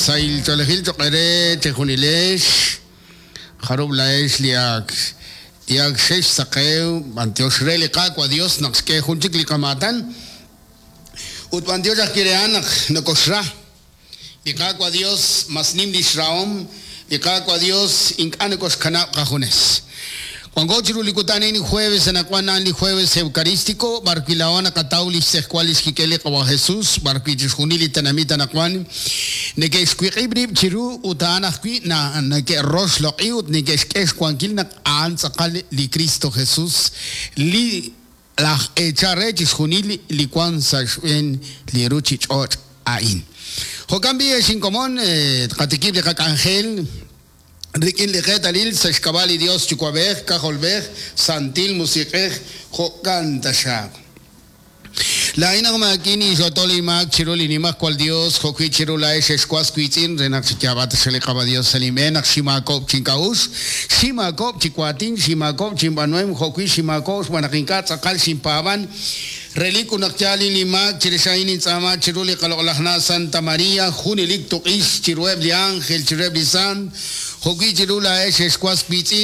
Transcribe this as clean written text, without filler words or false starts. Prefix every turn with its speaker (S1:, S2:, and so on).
S1: Sahil ch'oolejil cho'q eere chejunilex, jarub' laa'ex li ak li ak xexsaqew, b'antiox re li Qaawa' Dios naq xk'e jun chik li qamaatan, ut b'antiox ajwi' re a'an naq nokoxra. Li Qaawa' Dios mas nim lix rahom, li Qaawa' Dios ink'a' nokoxkanab' qajunes. Wanko chiru li kutan a'in jueves anaqwan a'an li jueves eucarístico, b'ar wi' laa'o naqataw lix tz'ejwal lix kik'el li Qawa' Jesus, b'ar wi' chixjunil li tenamit anaqwan neke'xwiq'ib' rib' chiru ut a'an ajwi' na neke'roxloq'i ut neke'xk'e xwankil naq a'an tz'aqal li Kristo Jesus li laj eechal re chixjunil li wan sa' xb'een li ruchich'och' a'in. Jo'kan b'i' ex inkomon, tqatikib' li qak'anjel. Rik'in li qeetalil sa' xk'ab'a' li Dios Yuwa'b'ej, K'ajolb'ej, Santil Musiq'ej, jo'kan taxaq. Laa'in aj maakin inxotol inmaak chiru li Nimajwal Dios, jo'wi' chiru laa'ex ex was wiitz'in, re naq chiyaab'a taxaq li Qaawa' Dios sa' linb'een naq xinmaakob'k chink'a'uxl, xinmaakob'k chi waatin, xinmaakob'k chinb'aanuhem, jo'wi' xinmaakob'k xb'aan naq ink'a' tz'aqal xinpaab'an. Relik ut naq yaal in linmaak, chirix a'in nintz'aama chiru li qaloq'laj Na' Santa Maria, junelik tuq'ix chiruheb' li ánjel, chiruheb' li sant, jo'wi' chiru laa'ex ex was wiitz'in.